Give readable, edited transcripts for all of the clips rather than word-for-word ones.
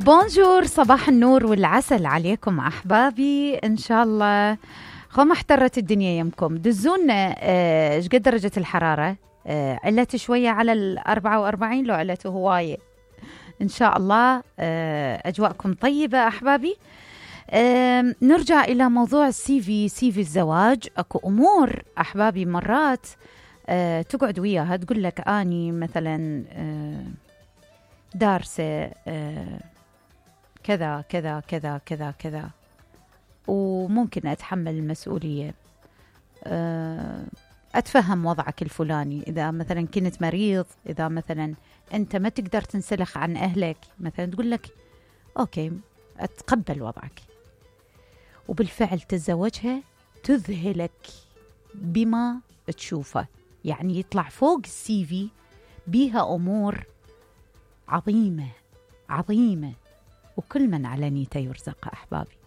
بونجور، صباح النور والعسل عليكم أحبابي. إن شاء الله ما احترت الدنيا يمكم. دزونا ايش قد درجة الحرارة؟ علت شوية على 44 لو علته هواية. إن شاء الله أجواءكم طيبة أحبابي. نرجع إلى موضوع السي في الزواج. أكو أمور أحبابي مرات تقعد وياها تقول لك أني مثلا دارسة كذا كذا كذا كذا كذا وممكن أتحمل المسؤولية. أتفهم وضعك الفلاني، إذا مثلا كنت مريض، إذا مثلا أنت ما تقدر تنسلخ عن أهلك مثلا، تقول لك أوكي أتقبل وضعك. وبالفعل تتزوجها تذهلك بما تشوفه، يعني يطلع فوق السي في بيها أمور عظيمة عظيمة، وكل من على نيته يرزق أحبابي.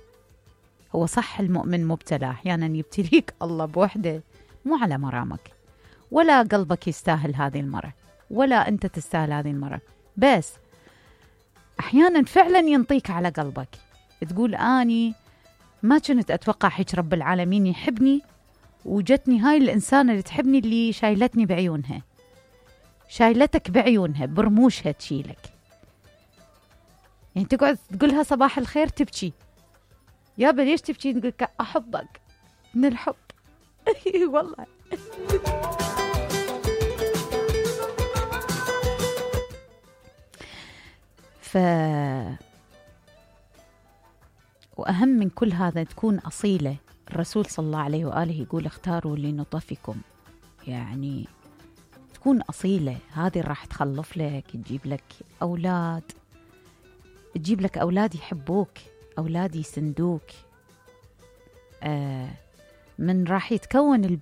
هو صح المؤمن مبتلى، أحيانا يبتليك الله بوحدة مو على مرامك، ولا قلبك يستاهل هذه المرة، ولا أنت تستاهل هذه المرة، بس أحيانا فعلا ينطيك على قلبك، تقول أني ما كنت أتوقع هيك رب العالمين يحبني، وجتني هاي الإنسانة اللي تحبني، اللي شايلتني بعيونها، شايلتك بعيونها برموشها تشيلك. يعني تقعد تقولها صباح الخير تبكي، يابا ليش تبكي؟ تقولك أحبك من الحب. والله وأهم من كل هذا تكون أصيلة. الرسول صلى الله عليه وآله يقول اختاروا لنطفكم، يعني تكون أصيلة. هذه راح تخلف لك، تجيب لك أولاد، تجيب لك أولاد يحبوك، أولاد يسندوك. من راح يتكون